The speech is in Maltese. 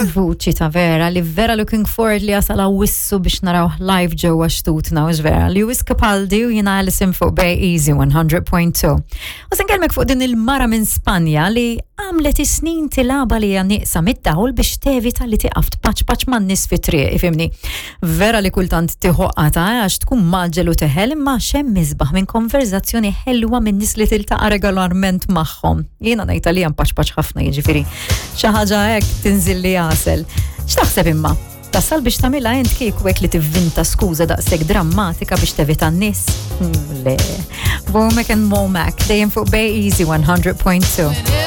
Vuċi ta' vera li vera looking forward li jasal wissu biex naraw live ġewwa xtutna u vera. Lewis Capaldi u jiena Alison fuq Bay Easy 100.2. U se nkellmek fuq din il-mara minn Spanja li għamlet is-snin tilaba li hija nieqsa mid-dawl biex tevita li tieqaf tpaċpaċ man-nies fit-triq, ifhimni. Vera li kultant tieħu qata għax tkun maġġel u teħel imma xemm isbaħ minn konverzazzjoni ħelwa minn nies li tiltaqa' regolarment magħhom. Jiena ngħid għalija mpaċpaċ ħafna jiġifieri. Xi ħaġa hekk tinżilli għasel. X'taħseb imma? Tasal biex tagħmilha int kieku hekk li tivvinta skuża daqshekk drammatika biex tevita n-nies? Le. Womack and Womack dejjem fuq Bay Easy 100.2.